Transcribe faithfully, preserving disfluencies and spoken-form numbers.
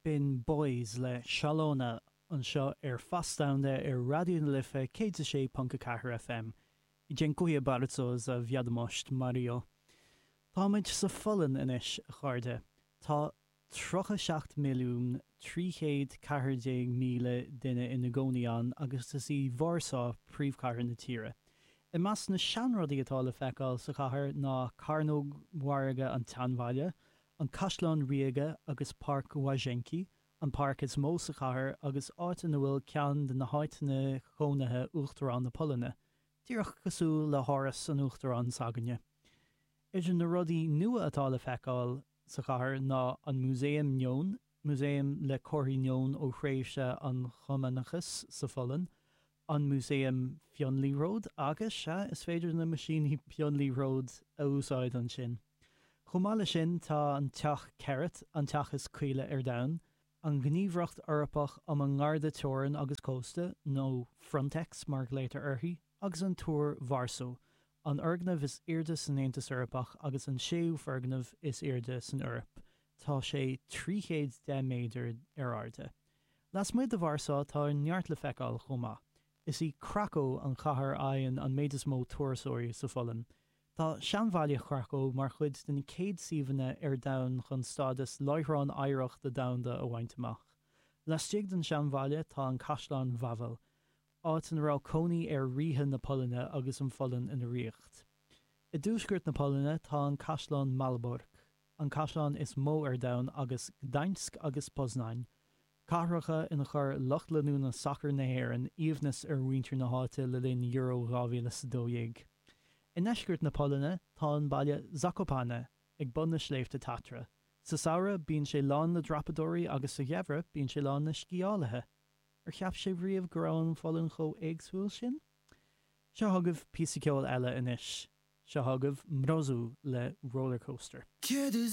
B'in Boys le Szalona anseo ar Fás Domhanda ar Raidió na Life céad a sé ponc a ceathair FM. Dziękuję bardzo za wiadomość, Mario. Táimid sa Pholainn anois, a chairde. Tá tríocha seacht milliún trí chéad ceathair déag míle duine ina gcónaí ann agus is í Vársá príomhchathair na tíre. I measc na seanrudaí atá le feiceáil sa chathair ná Cearnóg Mhargaidh an tSeanbhaile, an Caisleán Ríoga agus Páirc Łazienki, an páirc is mó sa chathair agus áit ina bhfuil ceann de na háiteanna cónaithe Uachtarán na Polainne, díreach cosúil le háras an Uachtaráin s'againne. Idir na rudaí nua atá le feiceáil sa chathair ná an Músaem Neon, músaem le comharthaí neon ó thréimhse an Chumannachais sa Pholainn, an Músaem Fionliathróid agus, sea, is féidir na meaisíní fionliathróid a úsáid ansin. Chomh maith leis sin tá an Teach Cerat, an teach is caoile ar domhan, an Ghníomhaireacht Eorpach um an nGarda Teorann agus Cósta, nó Frontex mar a ghlaotar uirthi, agus an Túr Vársá, an foirgneamh is airde san Aontas Eorpach agus an séú foirgneamh is airde san Eoraip. Tá sé trí chéad deich méadar ar airde. Lasmuigh de Vársá tá neart le feiceáil chomh maith. Is í Krakow an chathair a fhaigheann an méid is mó turasóirí sa Pholainn. Tá seanbhaile Chracow mar chuid de na céad suíomhanna ar domhan chun stádas Láithreán Oidhreachta Domhanda a bhaint amach. Laistigh den seanbhaile tá an Caisleán Wawel, áit ina raibh cónaí ar ríthe na Polainne agus an Pholainn ina ríocht. I dtuaisceart na Polainne tá an Caisleán Malbork, an caisleán is mó ar domhan agus Gdańsk agus Poznań, cathracha ina chuir lucht leanúna sacair na hÉireann aoibhneas ar mhuintir na háite le linn Euro dhá mhíle is a dó dhéag. I ndeisceart na Polainne tá an baile Zakopane ag bun na sléibhte Tatra. Sa samhradh bíonn sé lán le dreapadóirí agus sa gheimhreadh bíonn sé lán le sciálaithe. Ar cheap sibh riamh go raibh an Pholainn chomh éagsúil sin? Seo chugaibh píosa ceoil eile anois. Seo chugaibh Mrozu le Rollercoaster. Kiedy